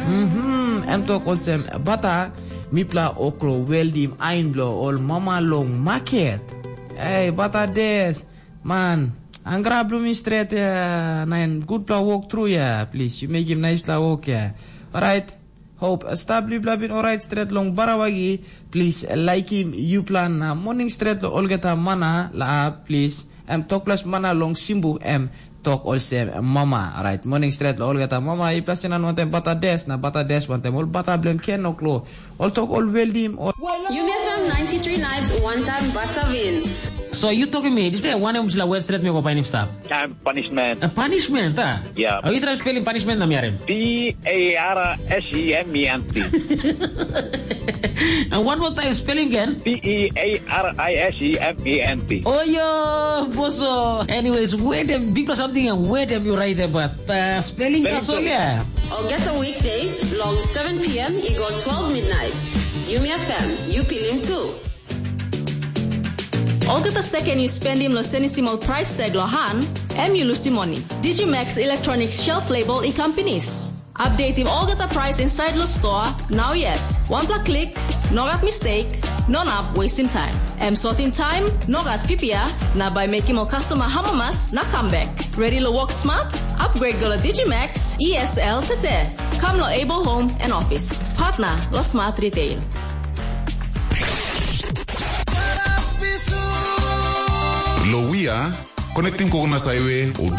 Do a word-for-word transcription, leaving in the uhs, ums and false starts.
Mhm, em tok olsem, bata, mipela oklo weldim ain bilong ol mama long maket. Ei, bata des, man, angra bilong mi stret ya, na en gutpela wok tru ya, plis, yu mekim naispela wok ya. Orait, hope, stap blipela bin orait stret long barawagi, plis, laikim yupela na moning stret long olgeta mana, la, plis, em tokples mana long simbu, em tok olsem mama. Orait, moning stret long olgeta mama, i plasin an wantem bata des, na bata des wantem ol bata bilong ken oklo. Ol tok ol weldim, ol Yumi F M ninety-three Nights, one time bata wins. So you talking me, dispela wanem sila web stret me go painim stap? Time punishment. A punishment, ah? Yeah. Are you trying spelling punishment na miarim? P A R S E M E N T. And one more time, spelling again. P E A R I S E M E N T. Oh, yo, boso. Anyways, where them, big something and where them you write about? Uh, spelling Spelling that's all, too. Yeah. August weekdays, long seven p m, it go twelve midnight. Yumi F M, you feeling too. Olgeta second you spend him lo senisim ol price tag lo han, em you lusim money. Digimax Electronics shelf label i companies. Update him olgeta price inside lo store, now yet. One pla click, no got mistake, no nap wasting time. Em sorting time, no got pipia, na by making ol customer hamamas, na come back. Ready lo work smart? Upgrade go lo Digimax, E S L tete. Come lo Able Home and Office. Partner lo Smart Retail. Lo wia, connecting Kokonas Highway, obia